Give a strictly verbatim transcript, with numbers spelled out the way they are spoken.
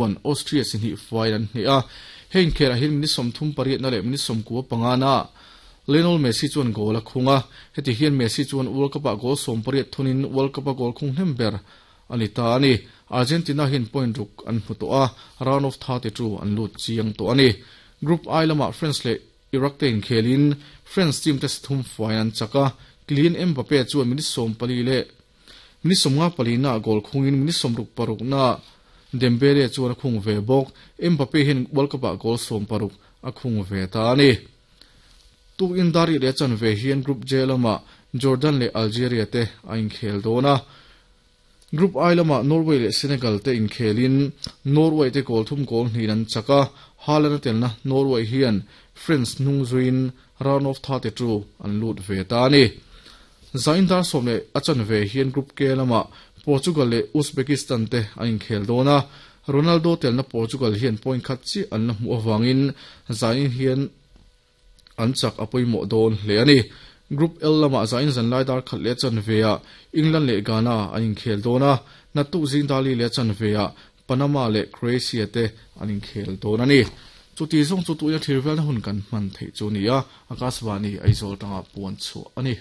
chuan Austria si hnih fai an hneh a. Heng khelh ah hian minute sawmthum pariat na leh minute sawmkua panga na Lionel Messi chuan goal a khung a. Heti hian Messi chuan World Cup ah goal sawm pariat thunin World Cup a goal khung hnem ber a ni ta a ni. Argentina hian point ruk an hmu tawh a, round of thirty two an lut chiang tawh a ni. Group I lamah France leh Iraq te inkhelin France team te thum fai an chak a. Kylian Mbappe chuan minute sawm pali leh minute sawmnga pali na goal khungin minute sawmruk paruk na Dembele chuan a khung ve bawk. Mbappe hian World Cup ah goal sawm paruk a khung ve ta a ni. Tuk in dari leh chan ve hian Group J lamah Jordan leh Algeria te a inkhel dawn a. Group I lamah Norway leh Senegal te inkhelin Norway te goal thum goal hnih an chak a. Haaland a telna Norway hian France hnung zuiin round of thirty two an lut ve ta a ni. Zain dar sawm leh a chan ve hian Group K lamah Portugal leh Uzbekistan te an inkhel dawn a. Ronaldo telna Portugal hian point khat chi an la hmuh awangin zain hian an chak a pawimawh dawn hle a ni. Group L lamah zain zan lai dar khat leh chan ve ah England leh Ghana an inkhel dawn a. Naktuk zing dali leh chan ve ah Panama leh Croatia te an inkhel dawn a ni. Chuti zawng chu tuina thir velna hun kan hman theih chu ni a. Akashvani Aizawl tanga puan chhuah a ni.